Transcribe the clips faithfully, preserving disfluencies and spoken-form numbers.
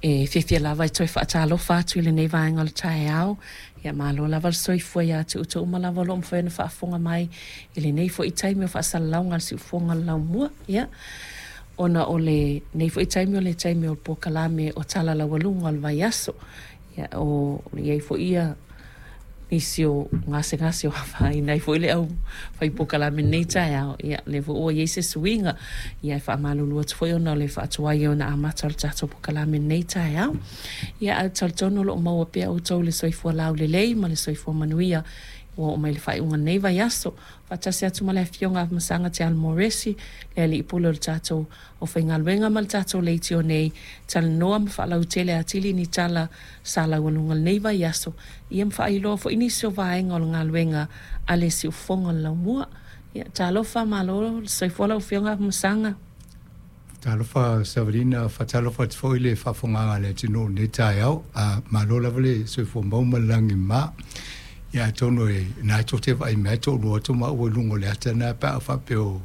E fiafia lava e toe faatalofa atu i lenei vaega o le taeao. Ia malo lava le soifua ia te outou uma lava o lo o mafai ona faafofoga mai i lenei foi taimi o faasalalauga a le Siufofoga o le Laumua. Ia, ona o lenei foi taimi o le taimi o le polokalame o Tala Laualuga o le Vaiaso. Ia, o i ai foi ia nisi o gasegase o afaina ai foi le au fai polokalame i lenei taeao. Ia, lea foi ua i ai se suiga. Ia, e faamalulu atu foi ona o le faatuai ona amata o le tatou polokalame i lenei taeao. Ia, ae talitonu o lo o maua pea outou le soifua laulelei ma le soifua manuia ua oo mai le faaiuga o lenei vaiaso. Faatasi atu ma le Afioga Afamasaga Te Alomoresi, le alii pule o le tatou aufaigaluega ma le tatou leitio nei, talanoa ma faalautele atili ni tala sa laualuga i lenei vaiaso, ia ma faailoa foi nisi o vaega o le galuega a le Siufofoga o le Laumua. Ia, talofa, malo le soifua lau Afioga Afamasaga. Talofa Savalina, faatalofa atu foi le faafofogaaga a le atunuu i lenei taeao. A malo lava le soifua maua ma le lagi e mama. Ia atonu e na tou te vaai mai toalua atu maua i luga o le ata lena pe a faapea o,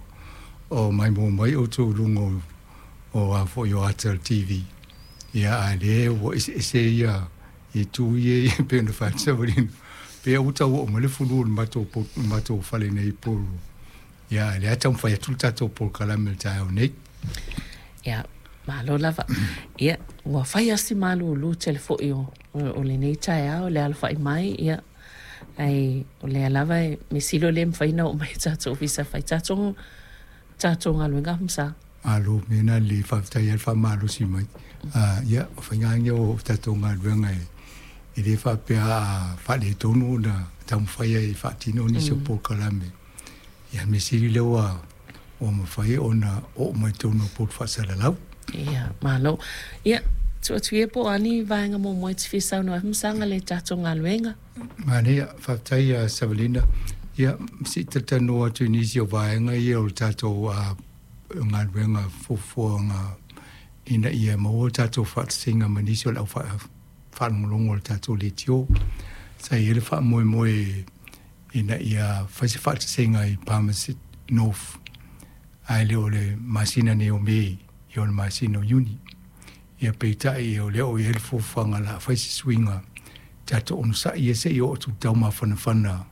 o maimoa mai outou i luga o, o a foi o ata o le T V. Ia a lea ua eseese ia itu ia e pei ona fai atu Savalina. Pe ua tau oo mai le fulu o le matou po-, matou fale nei i Porirua. Ia lea taumafai atu le tatou polokalame i le taeao nei. Ia, malo lava. Ia, ua fai asi malulu tele foi o, o, o lenei taeao, le alofai mai, ia, ai, o lea lava e mesilo le mafai na oo mai tatou ofisa fai tatou, tatou galuega Afamasaga. Malo, mea na le faafetai ai le faamalosi mai. Ah, ia, o faiga ia o tatou galuega e, e le faapea a faaletonu ona taumafai ai e faatino nisi o Mm. polokalame. Ia, mea sili lea ua, ua mafai ona oo mai totonu o potu faasalalau. Ia, malo. Ia, tuu atu ia po o ani vaega muamua e te fia saunoa ai Afamasaga le tatou galuega. Manaia, faafetai ia Savalina. Ia, se i talatalanoa atu i nisi o vaega ia o le tatou, ah, galuega fuafuaga ina ia maua le tatou faatasiga ma nisi o le au faa-, faalogologo o le tatou leitio. Sa i ai le faamoemoe ina ia fai se faatasiga i Palmerston North, ae le o le masina nei o Me, ia o le masina o Iuni. Ia peitai o lea o i ai le fuafuaga la fai se suiga tatou onosai ia se i oo atu taumafanafana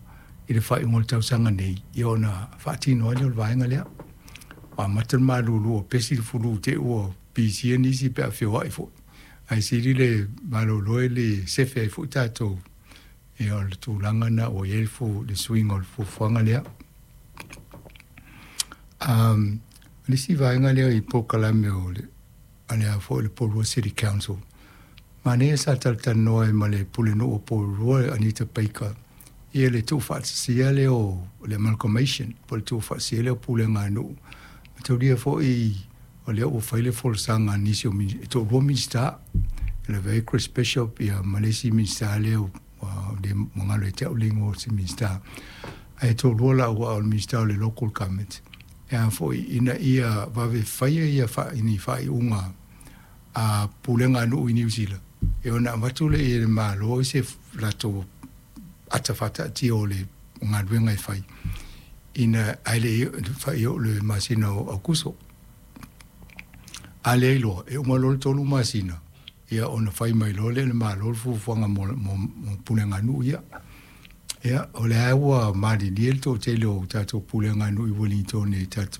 i le faaiuga o le tausaga nei, ia ona faatino ai lea o le vaega lea. Ua amata le malulu o pesi le fulu te ua pisia nisi pe a feoai foi. Ae sili le malolo e le sefe ai foi tatou. Ia o le tulaga na ua i ai le fu-, le suiga o le fuafuaga lea. Um, le isi vaega lea i polokalame o le, a le a foi le Porirua City Council. Manaia sa talatalanoa ai ma le pulenuu o Porirua, Anita Baker, ia le tuufaatasia lea o le amalgamation, po o le tuufaatasia lea o pulega a nuu. Mataulia foi o lea ua fai le folasaga a nisi o mini-, e toalua Minisita, e lavea ai Chris Bishop ia ma le isi Minisita lea o, ua le magalo e te au le igoa o se Minisita. Ae toalua laua o le Minisita o le Local Government. E a foi ina ia vave faia ia fa-, ni faaiuga a pulega a nuu i Niu Sila. E ona avatu le i le malo i se f-, latou ata faataatia o le galuega e fai. Ina ae le i fai o le masina o Aukuso. A le iloa, e uma loa le tolu masina, ia ona fai mai loa lea le malo le fuafuaga mo, mo, mo pulega a nuu ia. Ia, o lea ua malilie le toatele o tatou pulega a nuu i Wellington i tatou